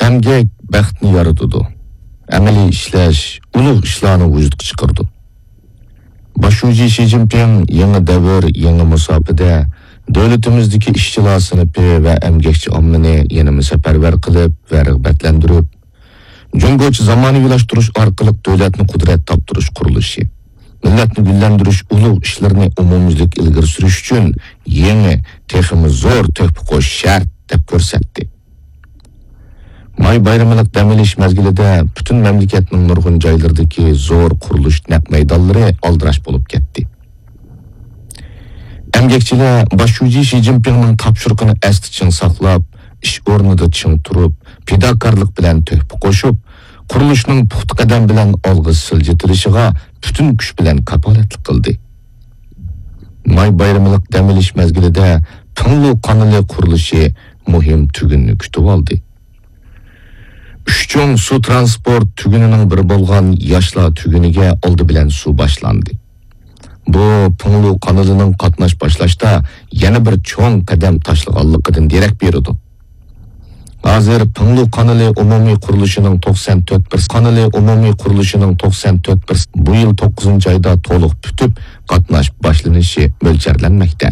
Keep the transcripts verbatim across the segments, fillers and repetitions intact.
ئەمگەك بەختنى يارىتىدۇ. ئەمەلىي ئىشلەش ئۇلۇغ ئىشلارنى ۋۇجۇدقا چىقىرىدۇ. باش شۇجى شى جىنپىڭ يېڭى دەۋر، يېڭى مۇساپىدە دۆلىتىمىزدىكى ئىشچىلار سىنىپى ۋە ئەمگەكچى ئاممىنى يەنىمۇ سەپەرۋەر قىلىپ ۋە رىغبەتلەندۈرۈپ، جۇڭگوچە زامانىۋىلاشتۇرۇش ئارقىلىق دۆلەتنى قۇدرەت تاپتۇرۇش قۇرۇلۇشى، مىللەتنى گۈللەندۈرۈش ئۇلۇغ ئىشلىرىنى ئومۇميۈزلۈك ئىلگىرى سۈرۈش ئۈچۈن يېڭى، تېخىمۇ زور تۆھپە قوشۇش شەرت، دەپ كۆرسەتتى. ماي بايرىملىق دەم ئېلىش مەزگىلىدە پۈتۈن مەملىكەتنىڭ نۇرغۇن جايلىرىدىكى زور قۇرۇلۇش نەق مەيدانلىرى ئالدىراش بولۇپ كەتتى. ئەمگەكچىلەر باش شۇجى شى جىنپىڭنىڭ تاپشۇرۇقىنى ئەستە چىڭ ساقلاپ، ئىش ئورنىدا چىڭ تۇرۇپ، پىداكارلىق بىلەن تۆھپە قوشۇپ، قۇرۇلۇشنىڭ پۇختا قەدەم بىلەن ئالغا سىلجىتىلىشىغا پۈتۈن كۈچ بىلەن كاپالەتلىك قىلدى. ماي بايرىملىق دەم ئېلىش مەزگىلىدە پىڭلۇ قانىلى قۇرۇلۇشى مۇھىم تۈگۈننى كۈتۈۋالدى. ئۈچ چوڭ سۇ ترانسپورت تۈگۈنىنىڭ بىرى بولغان ياشلار تۈگۈنىگە ئالدى بىلەن سۇ باشلاندى. بۇ پىڭلۇ قانىلىنىڭ قاتناش باشلاشتا يەنە بىر چوڭ قەدەم تاشلىغانلىقىدىن دېرەك بېرىدۇ. ھازىر پىڭلۇ قانىلى ئومۇمىي قۇرۇلۇشىنىڭ توقسان تۆت پىرسەنت، قانىلى ئومۇمىي قۇرۇلۇشىنىڭ توقسان تۆت پىرسەنت بۇ يىل توققۇزىنچى ئايدا تولۇق پۈتۈپ، قاتناش باشلىنىشى مۆلچەرلەنمەكتە.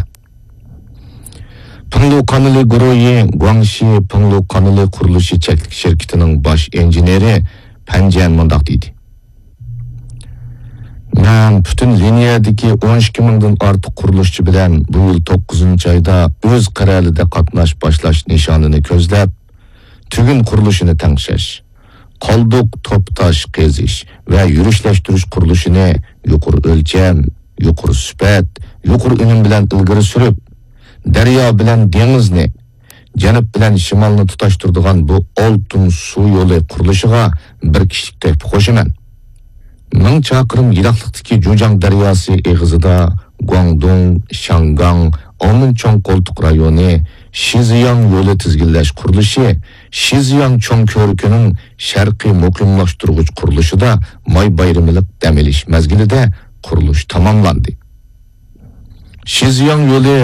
پىڭلۇ قانىلى گۇرۇھى گۇاڭشى پىڭلۇ قانىلى قۇرۇلۇشى چەكلىك شىركىتىنىڭ باش ئىنژېنېرى پەن جيەن مۇنداق دېدى: مەن پۈتۈن لىنىيەدىكى ئون ئىككى مىڭدىن ئارتۇق قۇرۇلۇشچى بىلەن بۇ يىل توققۇزىنچى ئايدا ئۆز قەرەلىدە قاتناش باشلاش نىشانىنى كۆزلەپ، تۈگۈن قۇرۇلۇشىنى تەڭشەش، قالدۇق توپا تاش قېزىش ۋە يۈرۈشلەشتۈرۈش قۇرۇلۇشىنى يۇقىرى ئۆلچەم، يۇقىرى سۈپەت، يۇقىرى ئۈنۈم بىلەن ئىلگىرى سۈرۈپ، دەريا بىلەن دېڭىزنى، جەنۇب بىلەن شىمالنى تۇتاشتۇرىدىغان بۇ ئالتۇن سۇ يولى قۇرۇلۇشىغا بىر كىشىلىك تۆھپە قوشىمەن. مىڭ چاقىرىم يىراقلىقتىكى جۇجياڭ دەرياسى ئېغىزىدا گۇاڭدۇڭ، شياڭگاڭ، ئاۋمېن چوڭ قولتۇق رايونى، شىزياڭ يولى تىزگىنلەش قۇرۇلۇشى، شىزياڭ چوڭ كۆۋرۈكىنىڭ شەرقىي مۇقىملاشتۇرغۇچ قۇرۇلۇشىدا ماي بايرىملىق دەم ئېلىش مەزگىلىدە قۇرۇلۇش تاماملاندى. شىزياڭ يولى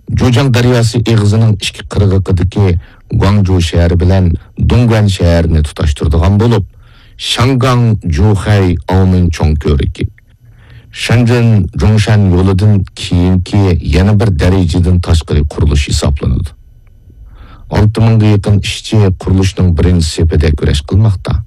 جۇجياڭ دەرياسى ئېغىزىنىڭ ئىككى قىرغىقىدىكى گۇاڭجۇ شەھىرى بىلەن دۇڭگۇەن شەھىرىنى تۇتاشتۇرىدىغان بولۇپ، شياڭگاڭ جۇخەي ئاۋمېن چوڭ كۆۋرۈكى، شېنجېن جۇڭشەن يولىدىن كېيىنكى يەنە بىر دەرىجىدىن تاشقىرى قۇرۇلۇش ھېسابلىنىدۇ. ئالتە مىڭغا يېقىن ئىشچى قۇرۇلۇشنىڭ بىرىنچى سېپىدە كۈرەش قىلماقتا.